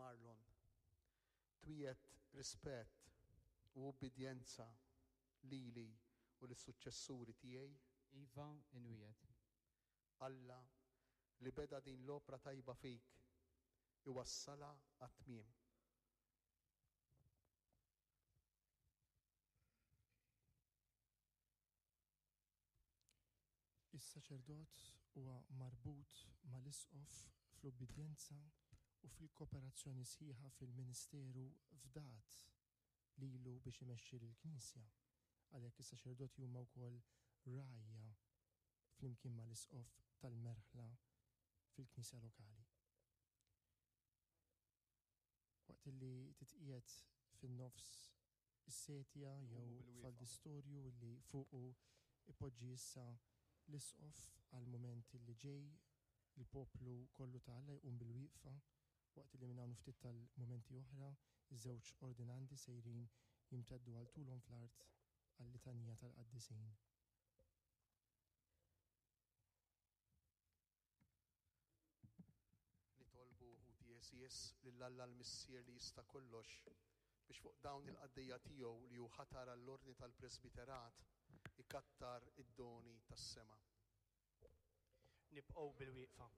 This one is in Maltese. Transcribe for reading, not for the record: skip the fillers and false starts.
Marlon, twiegħed rispett u ubbidjenza lili u lis-suċċessuri tiegħi? Iva, inwiegħed. Alla, li beda din l-opra tajba fik, iwassalha għat-tmiem. Is-saċerdot huwa marbut mal-isqof fl-ubbidjenza u fil-kooperazzjoni sħiħa fil-ministeru fdat lilu biex imexxi lill-Knisja. Għalhekk is-saċerdoti huma wkoll rgħajja flimkien mal-isqof tal-merħla fil-Knisja lokali. Waqt li titqiegħed fin-nofs is-setja jew faldistorju li fuqu ipoġġi issa l-Isqof għall-mument li ġej, il-poplu kollu ta' Alla jqum bil-wieqfa waqt li minn hawn u ftit tal-mumenti oħra iż-żewġ ordinandi sejrin jimteddu għal tulhom fl-art għal-litanija tal-qaddisin. Nitolbu, ħuti għeżież, lil Alla l-Missier li jista' kollox, biex fuq dawn il-qaddejja tiegħu li hu ħatar għall-ordni tal-presbiterat ikattar id-doni tas-sema. Nibqgħu bil-wieqfa.